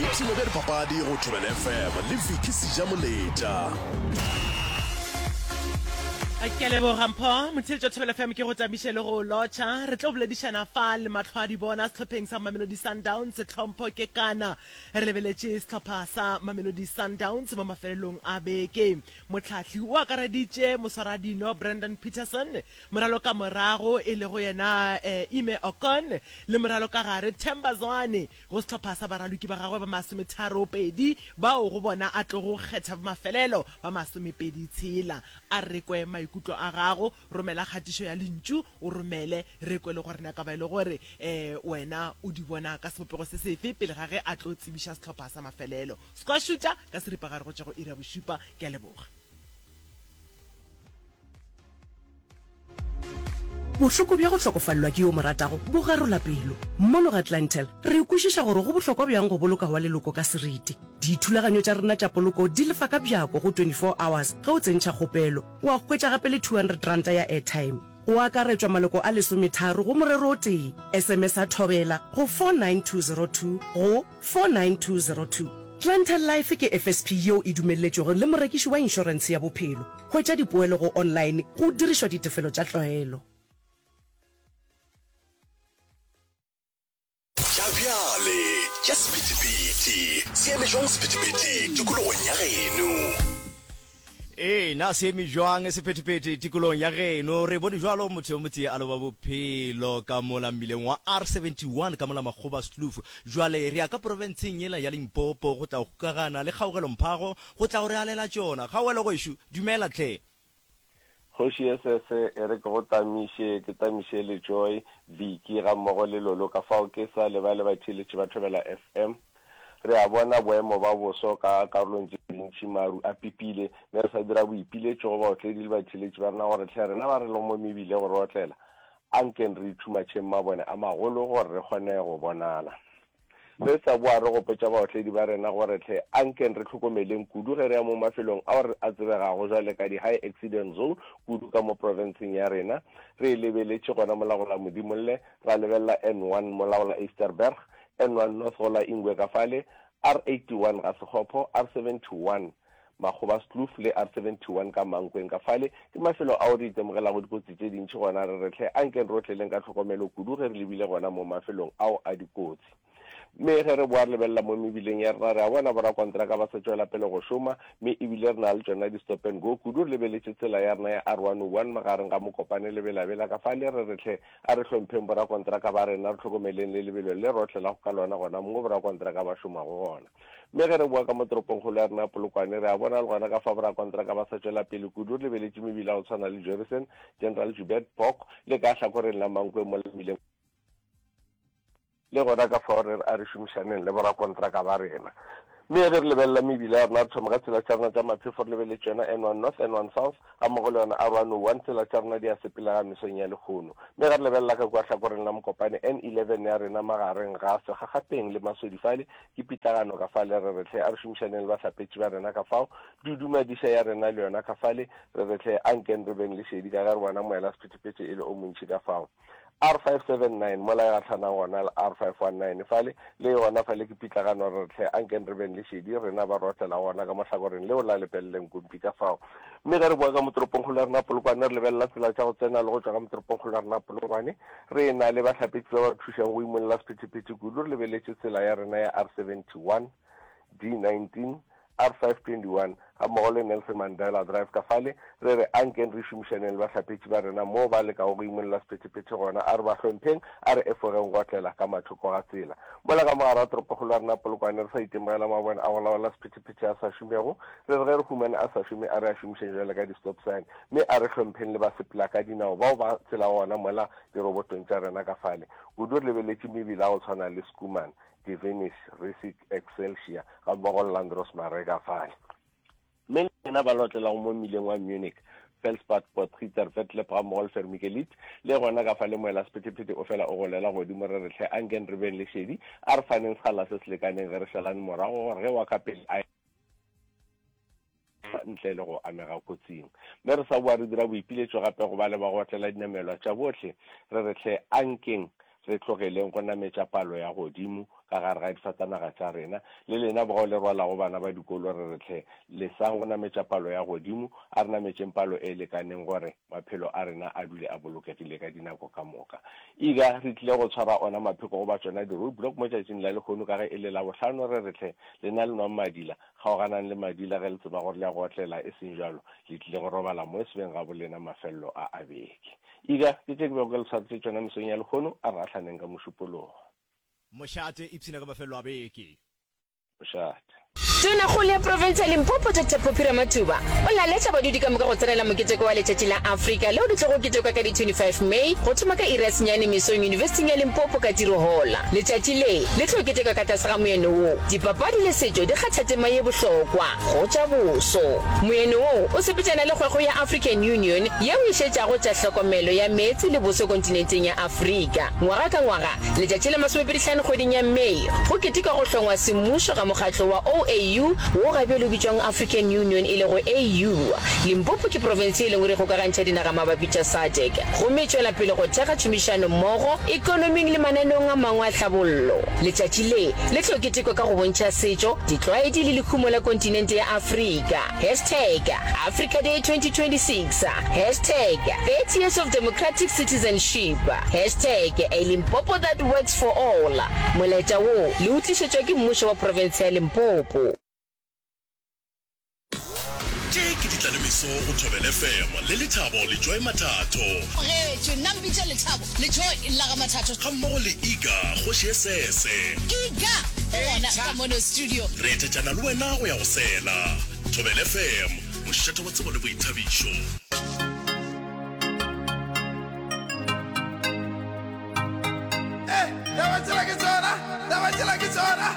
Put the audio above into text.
Boipshino bja dipapadi go Thobela FM le Vicky Sejamoletša. Ke a leboga Mpho. Motheeletši wa Thobela FM ke go tamiše le go lotšha. Re tlo boledišana fa le mahlo a di bona sehlopheng sa Mamelodi Sundowns. Tlhompho ke kana. Re lebeletše sehlopha sa Mamelodi Sundowns mo mafelelong a beke. Mohlahli o akareditše moswaradino Brandon Petersen, moralokamorago e lego yena Ime Okon le moralokagare Themba Zwane go sehlopha sa baraloki ba gagwe ba masometharopedi bao go bona a tlogo kgetha ba mafelelo ba masomepedi tshela. A re kwe maikutlo a gago, romela kgatišo ya lentšu o romele re kwe le gore na ka ba e le gore wena o di bona ka sebopego se sefe pele ga ge a tlo tsebiša sehlopha sa mafelelo. Squashuta ka seripagare go tšwa go iri ya bošupa. Ke a leboga. Bohloko bja go hlokofalelwa ke yo o mo ratago bo garola pelo. Mono ga Clientele, re kwešiša gore go bohlokwa bjang go boloka wa leloko ka seriti. Dithulaganyo tša rena tša poloko di lefa ka bjako go 24 hours ge o tsentšha kgopelo, wa hwetša gape le R200 ya airtime. Go akaretšwa maloko a lesometharo go morero o tee. SMS-a Thobela go 49202 go 49202. Clientele Life ke FSP yeo e dumelletšwego le morekiši wa inšorentshe ya bophelo. Hwetša dipoelo go online go dirišwa ditefelo tša tlwaelo. Tša bjale tša sephethephethe se eme jwang sephethephethe tikologong ya geno? Ee, na se eme jwang sephethephethe tikologong ya geno? Re bone jwalo motho yo motee a loba bophelo ka mola mmileng wa R71 ka mola Makgobaskloof. Jwale re ya ka profenseng yela ya Limpopo go tla go kgokagana le Kgaogelo Mphago go tla go re alela tšona. Kgaogelo gwešu, dumela hle. Kgoši Esese e re ke go tamiše, ke tamiše le Joy, Vicky gammogo le Lolo ka fao ke sa lebale batheeletši ba Thobela FM. Re a bona boemo ba boso ka karolong tše dintši maru a pipile mme re sa dira boipiletšo go baotledi le batheeletši ba rena gore hle rena ba re lego mo mebileng go re otlela ankeng re ithumatšheng mabone a magolo gore re kgone go bonala. Re sa boa re gopotša baotledi ba rena gore hle ankeng re hlokomeleng kudu ge re ya mo mafelong ao re a tsebegago jwale ka di-high accident zone kudu ka mo profenseng ya rena. Re e lebeletše gona mola go la Modimolle, ra lebelela N1 mola go la Ysterberg, N1 North go la Ingwe ka fale, R81 ga Sekgopho, R71 Makgobaskloof le R71 ka Mankweng ka fale ke mafelo ao re itemogelago dikotsi tše dintši gona. Re re hle ankeng re otleleng ka tlhokomelo kudu ge re lebile gona mo mafelong ao a dikotsi. Mme ge re boa re lebelela mo mebileng ya rena re a bona borakontraka ba sa tšwela pele go šoma mme ebile re na le tšona di-stop and go kudu re lebeletše tsela ya rena ya R101 magareng ga Mokopane le Bela-Bela ka fale re re hle a re hlompheng borakontraka ba rena re hlokomeleng le lebelo le re otlelago ka lona gona mo borakontraka ba šomago gona. Mme ge re boa ka mo toropongkgolo ya rena ya Polokwane, re a bona le gona ka fa borakontraka ba sa tšwela pele kudu re lebeletše mebila ya go tshwana le Jorissen, General Joubert, Bok le ka hlakoreng la Mankwe mola mmileng Le gona ka fao re re a re šomišaneng le borakontraka ba rena. Mme ge re lebelela mebila ya rena, re thoma ka tsela tša rena tša maphefo re lebeletše yona N1 North, N1 South, gammogo le yona R101, tsela tša rena di a sepelega mesong ya lehono. Mme ge re lebelela ka kua hlakoreng la Mokopane, N11 ya rena magareng ga Segagapeng le Masodi fale, Ke pitlagano ka fale, re re hle a re šomišaneng le bahlapetši ba rena ka fao, dudumadiša ya rena le yona ka fale, re re hle a nkeng re beng le šedi ka ge re bona moela sephethephethe e le o montši ka fao. R579 mola e gahlanang gona le R519 fale, le yona fale ke pitlagano, re re hle a nkeng re beng le šedi rena ba re otlelago gona ka mo hlakoreng leo la Lepelle Nkumpi ka fao. Mme ge re boa ka mo toropongkgolo ya rena Polokwane re lebelela tsela tša go tsena le go tšwa ka mo toropongkgolo ya rena Polokwane, Re na le bahlapetši ba ba re thušago go imolla sephethephethe kudu re lebeletše tsela ya rena ya R71, D19, R521 gammogo le Nelson Mandela Drive ka fale. Re re ankeng re šomišaneng le bahlapetši ba rena moo ba lekago go imolla sephethephethe gona. A re ba hlompheng, a re efogeng go otlela ka mathoko ga tsela. Mola ka mogare ga toropokgolo ya rena Polokwane re sa itemogela mabone a go laola sephethephethe a sa šomego, re re ge re humane a sa šome a re a šomišeng bjalo ka di-stop sign. Mme a re hlompheng le basepelakadinao bao ba tselago gona mola dirobotong tša rena ka fale. Kudu re lebeletše mebila ya go tshwana le Schoeman, Devenish, Rissik, Excelsior gammogo le Landros Marais ka fale. Mme le lena ba le otlelago mo mmileng wa Munich, Felspad, Potgieter, Vetlep gammogo le Vermikelit, le gona ka fale moela sephethephethe o fela o golela godimo re re hle ankeng re beng le šedi, a re faneng sekgala se se lekaneng ge re šalane morago gore ge wa ka pele a ntle le go amega kotsing. Mme re sa boa re dira boipiletšo gape go bale ba go otlela dinamelwa tša bohle, re re hle ankeng re tlogeleng go nametša palo ya godimo. ka gare ga difatanaga tša rena. Le lena bao le rwalago bana ba dikolo re re hle lesang go nametša palo ya godimo, a re nametšeng palo e lekaneng gore maphelo a rena a dule a bolokegile ka dinako ka moka. Ega re tlile go tshwara ona mapheko goba tšona di-roadblock mo tšatšing la lehono ka ge e le Labohlano re re hle lena le nwang madila, kgaoganang le madila ge le tseba gore le ya go otlela e seng bjalo le tlile go robala mo e se beng ga bolena mafelelo a a beke. Ega ke tše ke bego ke le tshwaretše tšona mesong ya lehono, a re gahlaneng ka Mošupologo. Mošate, ipshina ka mafelelo a beke. Mošate. Tonakgolo ya profense ya Limpopo Doctor Phophi Ramathuba o laletša badudi ka moka go tsenela moketeko wa Letšatši la Afrika leo le tlogo ketekwa ka di 25 May go thoma ka iri ya senyane mesong Yunibesithing ya Limpopo ka Tiro Hall. Letšatši le le tlo ketekwa ka tlase ga moeno wo, Dipapadi le setšo di kgatha tema ye bohlokwa go tša boso. Moeno wo o sepetšana le kgwekgwe ya African Union yeo e šetšago tša hlokomelo ya meetse le boso kontinenteng ya Afrika. Ngwaga ka ngwaga, Letšatši la masomepedihlano kgweding ya May, go ketekwa go hlongwa semmušo ga mokgatlo wa OAU, wo ga bjale o bitšwang African Union e lego AU. Limpopo ke profense ye lengwe re kgokagantšha dinagamabapi tša SADC gomme e tšwela pele go thekga tšhomišano mmogo ekonoming le mananeong a mangwe a tlhabollo. Letšatši le le tlo ketekwa ka go bontšha setšo, ditlwaedi le lehumo la kontinente ya Afrika. Hashtag Africa Day 2026 Hashtag 30 years of democratic citizenship Hashtag a Limpopo that works for all Molaetša wo le o tlišetšwa ke mmušo wa profense ya Limpopo. Tše ke ditlalemeso go Thobela FM le Lethabo le Joy Mathatho. Mogetšwe, nna mpitše Lethabo le Joy la ga Mathatho. Gammogo le Iga, kgoši e sese. Iga o gona ka mono studio. Re etetšana le wena go ya go sela. Thobela FM, mošate wa tsebo le boithabišo. Eh, taba tsela ke tsona, taba tsela ke tsona.